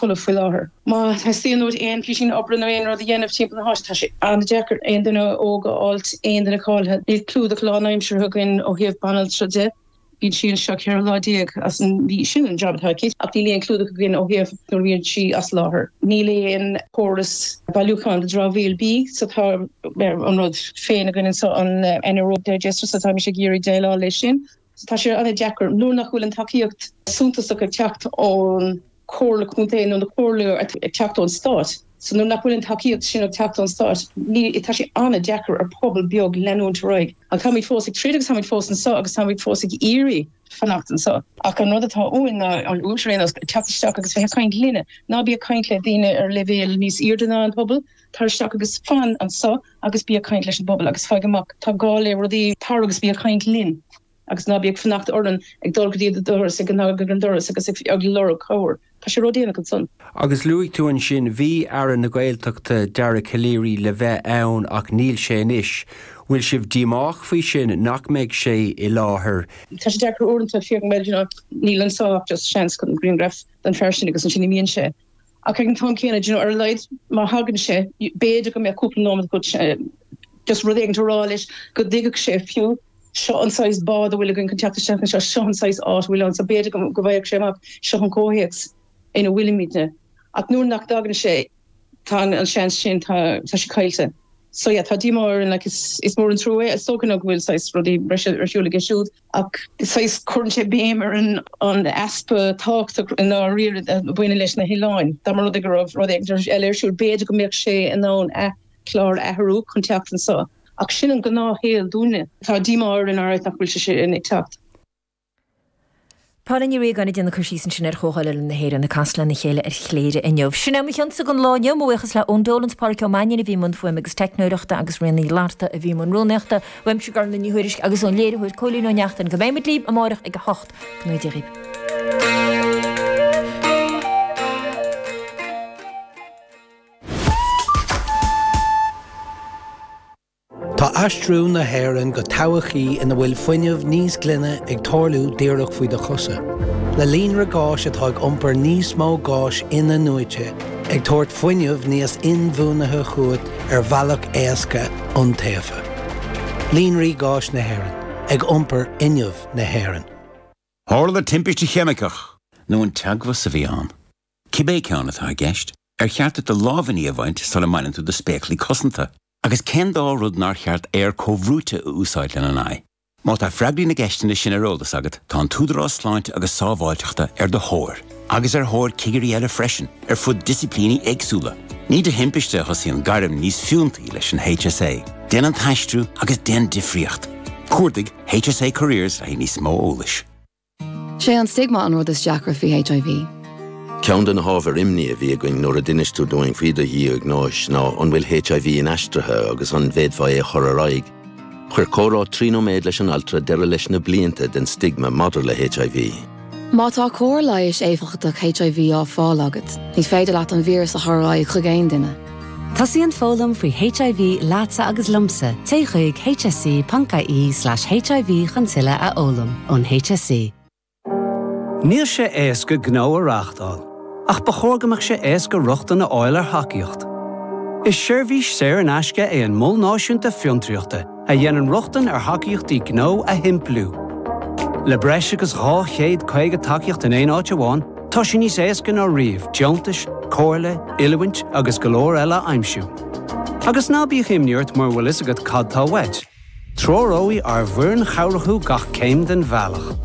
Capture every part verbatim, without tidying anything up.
folamh faoi láthair. Má theastaíonn uait aon phíosín oibre nó aon rud a dhéanamh timpeall na háite, tá sé an-deacair aon duine óg a fháilt, aon duine cáilithe. Níl clúdach lánaimseartha againn ó thaobh banaltra de. Bíonn sí anseo ceithre lá déag as an mhí, sin an jab atá aici, ach níl aon clúdach againn ó thaobh nuair a bhíonn sí as láthair. Níl aon chóras bailiúcháin do dramhaíl bídh so tá an rud féin againn anseo, an anaerobic digester, so táimid ag iarraidh déileáil leis sin. So tá sé an-deacair nuair nach bhfuil an tacaíocht suntasach ag teacht ón Chomhairle Contae nó na comhairle ag teacht ón Stát. So nuair nach bhfuil an tacaíocht sin ag teacht ón Stát, ní, tá sé an-deacair ar pobal beag leanúint ar aghaidh. Ach táimid fós ag troid agus táimid fós anseo agus táimid fós ag iarraidh fanacht anseo. Ach an rud atá uainn ná an uaimse ar aon nós, teacht isteach agus bheith ag caint linne. Ná bí ag caint le daoine ar leibhéal níos airde ná an pobal, tar isteach agus fan anseo agus bí ag caint leis an bpobal agus faigh amach, tá gá le rudaí, tar agus bí ag caint linn. Agus ná bí ag fanacht orainn ag dul go dtí do doras, ag cnagadh ar an doras agus ag lorg cabhair. Tá sé ródhéanach ansan. Agus luaigh tú ansin, bhí Aire na Gaeltachta, Dara Calleary le bheith ann ach níl sé anois. Bhfuil sibh díomách faoi sin, nach mbeidh sé i láthair? Tá sé deacair uaireanta, fiú bhuel, you know, níl anseo ach just seans chun grianghraf den fear sin agus ansin imíonn sé. Ach ag an t-am céanna, you know, ar a laghad má thagann sé, b'fhéidir go mbeadh cúpla nóiméad agat just rud éigin a rá leis go dtuigfeadh sé fiú. Seo an saghas bád a bhfuil againn chun teacht isteach anseo, seo an saghas áit a bhfuil ann, so b'fhéidir go bhfaigheadh sé amach, seo an comhthéacs ina bhfuilimidne. Ach nuair nach dtagann sé, tá an seans sin, tá sé caillte. So yeah, tá díomá orainn, like, is is mór an trua é. Is dócha nó go bhfuil saghas rudaí breise ar siúl aige siúd, ach saghas cuireann sé béim ar an an easpa tábhachtach i ndáiríre a bhaineann leis na hoileáin. Dá mba rud é go raibh rud éigin eile ar siúl, b'fhéidir go mbeadh sé in ann a chlár a athrú chun teacht anseo. Ach sin an gnáthshaol dúinne. Tá díomá orainn alright nach bhfuil sé sin ag teacht. Paula Ní Riagáin ag déanamh cur síos ansin ar Chomhdháil Oileáin na hÉireann ag casadh lena chéile ar Chléire inniu. Sin é mo chionsa don lá inniu. Mo bhuíochas le Eoin Dolan 's Pádraic Ó Mainnín a bhí i mbun fuaime agus teicneoireachta agus Ríona Ní Fhlatharta a bhí i mbun rúnaíochta. Uaimse Gormlaith Ní Thuairisg agus ón léiritheoir Cóilín Ó Neachtain go mbeidh muid libh amárach ag a hocht. Go ngnóthaí Dia dhaoibh. Tá aistriú na hÉireann go todhchaí ina bhfuil fuinneamh níos glaine ag tarlú díreach faoi do chosa. Le líonra gáis atá ag iompar níos mó gáis in-athnuaite, ag tabhairt fuinneamh níos inbhuanaithe chugat ar bhealach éasca, iontaofa. Líonraí Gáis na hÉireann, ag iompar fhuinneamh na hÉireann. Tharla timpiste cheimiceach nó an teagmhas a bhí ann? Cibé ceann atá i gceist, ar cheart duit do lámhainní a bhaint sula mbaineann tú do spéaclaí cosanta? Agus cén dá rud nár cheart aer comhbhrúite a úsáid lena n-aghaidh? Má tá freagraí na gceisteanna sin ar eolas agat, tá an tÚdarás Sláinte agus Sábháilteachta ar do thóir, agus ar thóir cigirí eile freisin, ar fud disciplíní éagsúla. Ní de thimpiste a thosaíonn gairm níos fiúntaí leis an HSA. Déan an t-aistriú agus déan difríocht. Cuardaigh HSA Careers le haghaidh níos mó eolais. Sé an stigma an rud is deacra faoi HIV. Ceann de na hábhair imní a bhí againn nuair a d'inis tú dúinn faoi do dhiagnóis ná an bhfuil HIV inaistrithe agus an bhféadfá é a chur ar aghaidh. Chuir comhrá trí nóiméad leis an altra deireadh leis na blianta den stigma maidir le HIV. Má tá cóir leighis éifeachtach HIV á fáil agat, ní féidir leat an víreas a chur ar aghaidh chuig aon duine. Tosaíonn foghlaim faoi HIV leatsa agus liomsa, téigh chuig hse.ie slash HIV chun tuilleadh a fhoghlaim ón HSE. Níl sé éasca gnó a reáchtáil, ach ba chóir go mbeadh sé éasca rochtain a fháil ar thacaíocht. Is seirbhís saor in aisce é an Mol Náisiúnta Fiontraíochta a dhéanann rochtain ar thacaíochtaí gnó a shimpliú. Le breis agus dhá chéad caoga tacaíocht in aon áit amháin, tá sé níos éasca ná riamh deontais, comhairle, oiliúint agus go leor eile a aimsiú. Agus ná bíodh imní ort mura bhfuil fhios agat cad tá uait. Treoróidh ár bhfoireann chabhrach thú gach céim den bhealach.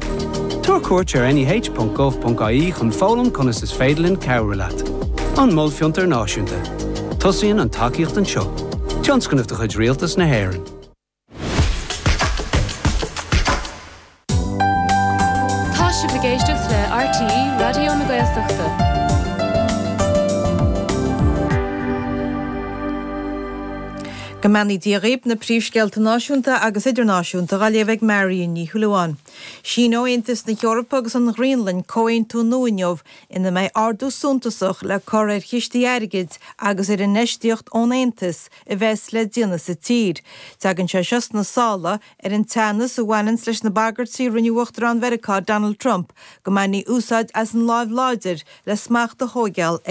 Tabhair cuairt ar neh.gov.ie chun foghlaim conas is féidir linn cabhrú leat. An Mol Fiontar Náisiúnta. Tosaíonn an tacaíocht anseo. Tionscnamh de chuid Rialtas na hÉireann. Tá sibh ag éisteacht le RTÉ Raidió na Gaeltachta. Go mbeannaí Dia dhaoibh na príomhscéalta náisiúnta agus idirnáisiúnta á léamh ag Marion Ní Shúilleabháin. Síneoidh Aontas na hEorpa agus an Ghraonlainn comhaontú nua inniu ina mbeidh ardú suntasach le cur ar chistí airgid agus ar infheistíocht ón Aontas a bheas le déanamh sa tír. Tagann sé seo sna sála ar an teannas a bhaineann leis na bagairtí a rinne Uachtarán Mheiriceá Donald Trump go mbainfí úsáid as an láimh láidir le smacht a thógáil